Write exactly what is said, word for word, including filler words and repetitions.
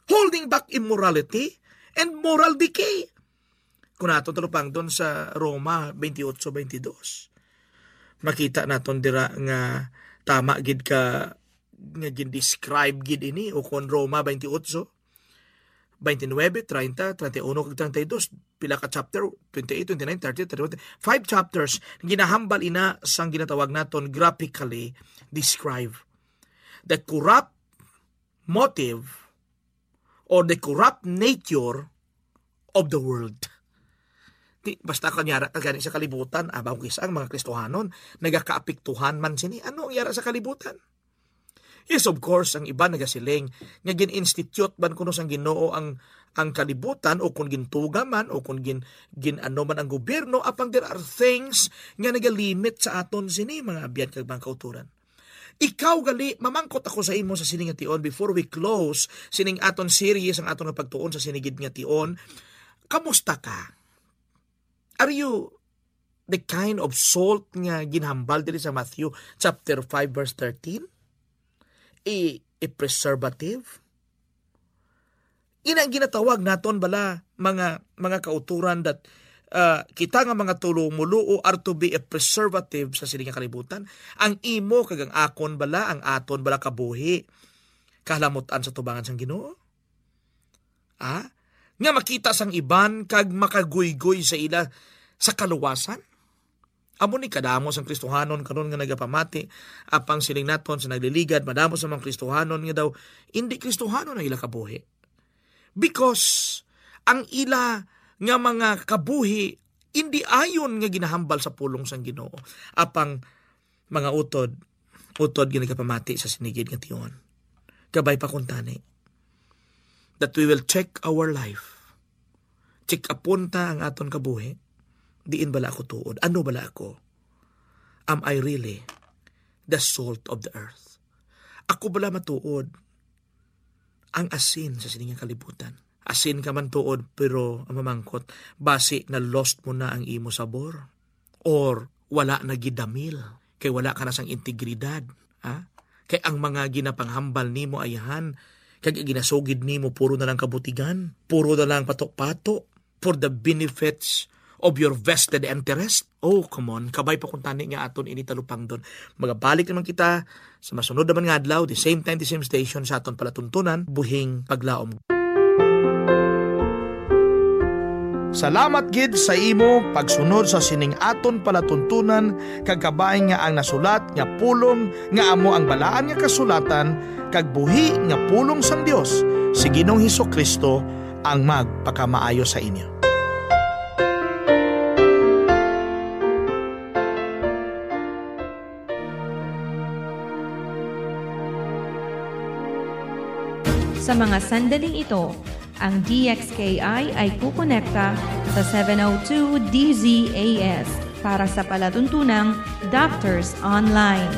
holding back immorality and moral decay. Kung naton talupangdon sa Roma twenty-eight twenty-two, makita naton dira nga tama gid ka nga gin-describe gid ini, o kon Roma twenty-eight, twenty-nine, thirty, thirty-one, kag thirty-two, pila ka chapter, twenty-eight, twenty-nine, thirty, thirty-one, five chapters, ginahambal ina sang ginatawag naton graphically describe the corrupt motive or the corrupt nature of the world. Di, basta kanyara ka gani sa kalibutan, abaw kisa ang mga Kristohanon, nagakaapektuhan man sini. Ano ang yara sa kalibutan? Yes, of course, ang iban nagasiling nga gin-institute man kuno sang Ginoo ang, ang kalibutan, o kung gintuga man, o kung gin, gin-ano man ang gobyerno, apang there are things nga nagalimit sa aton sini, mga abyan kag mga kauturan. Ikaw gali, mamangkot ako sa imo sa sini nga tion before we close sining aton series, ang aton nga pagtuon sa sini gid nga tion. Kamusta ka? Are you the kind of salt nga ginhambal diri sa Matthew chapter five, verse thirteen? A, a preservative? Ina ang ginatawag naton bala, mga, mga kauturan, that, ah, kita nga mga tulumuluo are to be a preservative sa sini nga kalibutan. Ang imo kag ang akon bala, ang aton bala kabuhi, kahalamutan sa tubangan sang Ginoo? Ah? Nga makita sang iban kag makaguygoy sa ila sa kaluwasan? Amo ni kadamo sang Kristohanon karon nga nagapamati, apang siling naton sa nagliligad, madamo sa mga Kristohanon nga daw indi Kristohanon ang ila kabuhi. Because ang ila nga mga kabuhi indi ayon nga ginahambal sa pulong sang Ginoo. Apang mga utod, utod nga nagapamati sa sini gid nga tion. Kabay pa kuntani that we will check our life. Check upon ta ang aton kabuhi. Diin bala ako tuod? Ano bala ako? Am I really the salt of the earth? Ako bala matuod ang asin sa sini nga kalibutan? Asin ka man tuod, pero ang mamangkot, basi na-lost mo na ang imo sabor, or wala na gidamil, kay wala ka na sang integridad, ha? Kay ang mga ginapanghambal nimo ayahan, kag ginasugid nimo puro na lang kabutigan, puro na lang pato-pato for the benefits of your vested interest. Oh, come on, kabay pa kuntani nga aton ini talupangdon. Magabalik naman kita sa masunod naman nga adlaw, the same time, the same station, sa aton palatuntunan, Buhing Paglaom. Salamat gid sa imo pagsunod sa sining aton palatuntunan, kag kabay nga ang nasulat nga pulong nga amo ang Balaan nga Kasulatan kag buhi nga pulong sang Dios si Ginoong Jesu-Cristo ang magpakamaayo sa inyo. Sa mga sandaling ito, ang D X K I ay kukonekta sa seven oh two D Z A S para sa palatuntunang Doctors Online.